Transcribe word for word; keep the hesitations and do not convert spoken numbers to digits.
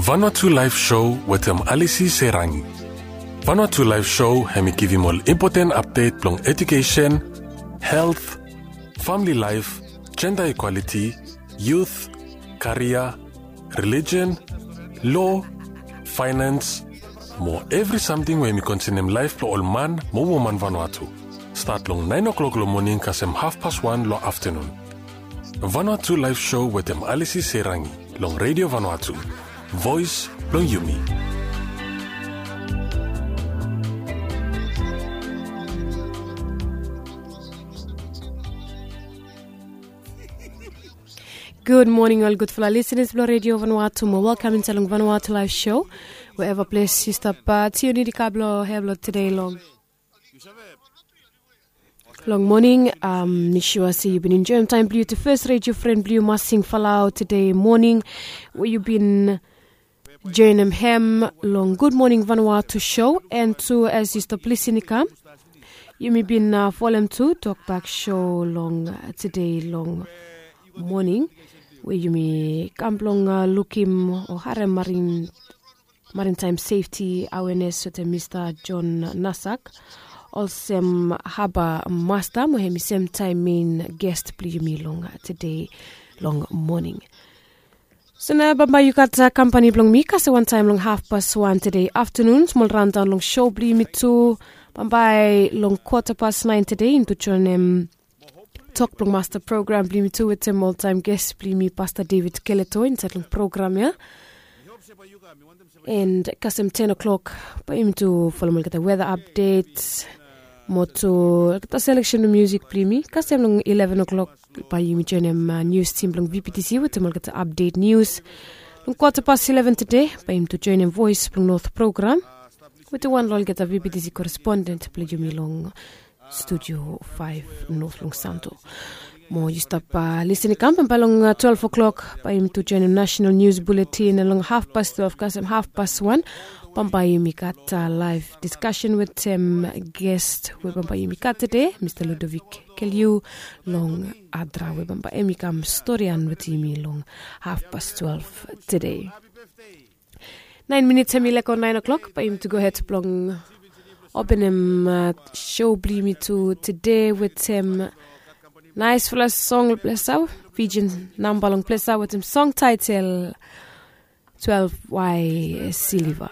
Vanuatu Live Show wetem Alisi Serangi. Vanuatu Live Show hemi givim ol impoten apdet blong edukesen, helt, famili laef, jenda ikwaliti, yut, karia, relijen, lo, faenans, mo evri samting we hemi konsenem laef blong ol man mo woman Vanuatu. Stat long naen o'klok long moning kasem hafpas wan long aftanun. Vanuatu Live Show wetem Alisi Serangi long Redio Vanuatu, voes blong yumi. Gud moning ol gudfala lisenas blong Redio Vanuatu mo welkam insaed long Vanuatu Live Show. Wherever ples yu stap, tiun i kam long hea blong tede long long moning. Mi sua se yu bin enjoim taem blong yu tu fes redio fren blong yu Masing Falau tede moning, we yu bin joenem hem long Gud Moning Vanuatu show. And tu as yu stap lisin i kam, yumi bin folem tu tokbak show long tede long moning, we yumi kam blong lukim o harem marin marintaem sefti awenes wetem Mista John Nasak, olsem haba masta mo hemi semtaem mein gest blong yumi long tede long moning. So nao bambae yu gat kampani blong mi kasem wantaem long hafpas wan tede aftanun, smol raondaon long show blong yumi tu. Bambae long kwota pas naen tede yumi tu joenem tok blong masta program blong yumi tu wetem oltaem gest blong yumi Pasta David Keleto insaed long program ya. And kasem ten o'clock bae yumi tu folem olgeta weda apdet mo tu olgeta seleksen blong musik blong yumi. Kasem long eleven o'clock bae yumi joenem nius tim blong VPTC wetem olgeta apdet nius. Long kwota pas eleven tede bae yumi tu joenem Voes blong Not program wetem wan long olgeta VPTC koresponden blong yumi long Studio faef not long Santo. Mo yu stap lisin i kam bambae long twelve o'clock bae yumi tu joenem nasenal nius buletin, long hafpas twelve kasem hafpas wan bambae yumi gat laef diskasen wetem gest we bambae yumi gat tede, Mista Ludovic Keliu long Adra, we bambae hemi kam storian wetem yumi long hafpas twelve tede. Naen minits hemi lego naen o'klok bae yumi tu gohed blong openem show blong yumi tu tede wetem naesfala song long ples ya, Fijian namba long ples ya wetem song taetel twelve wae siliva.